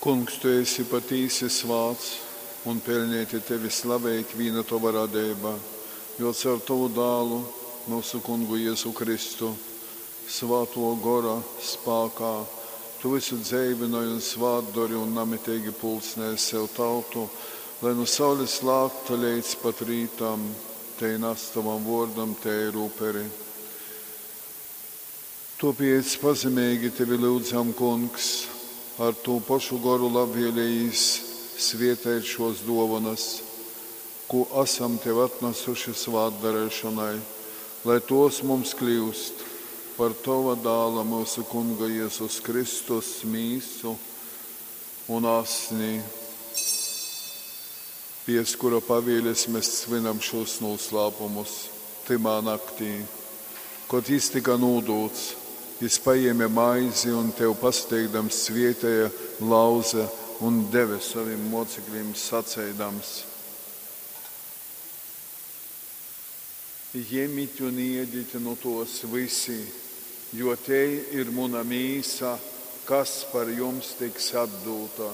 Kungs, tu esi patīsi svāts, un peļneiti tevi slavej ikvīna tova radeiba, jo caur tovu Dālu, myusu Kungu Jezu Kristu, Svātō Gora spākā tu vysu dzeivynoj un svātdori un namiteigi pulcnej sev tautu, lai nu saules lākta leidz pat rītam tei nas tovam vōrdam teiru uperi. Tōpēc pazemeigi tevi lyudzam, Kungs, ar tū pošu goru labvēlejīs svēteit šōs dōvonas, kū asam tev atnasuši svātdareišonai, lai tōs mums kļyust par tova Dāla, myusu Kunga Jezus Kristus mīsu un asni. Piec kura pavieles mes svynam šūs nūslāpumus. Tymā naktī, kod jys tyka nūdūts, jys pajēme maizi un, tev pasateikdams, svēteja, lauze un deve sovim mōceklim, saceidams. Jemit un ēdit nu tōs vysi, jo tei ir muna mīsa, kas par jums tiks atdūta.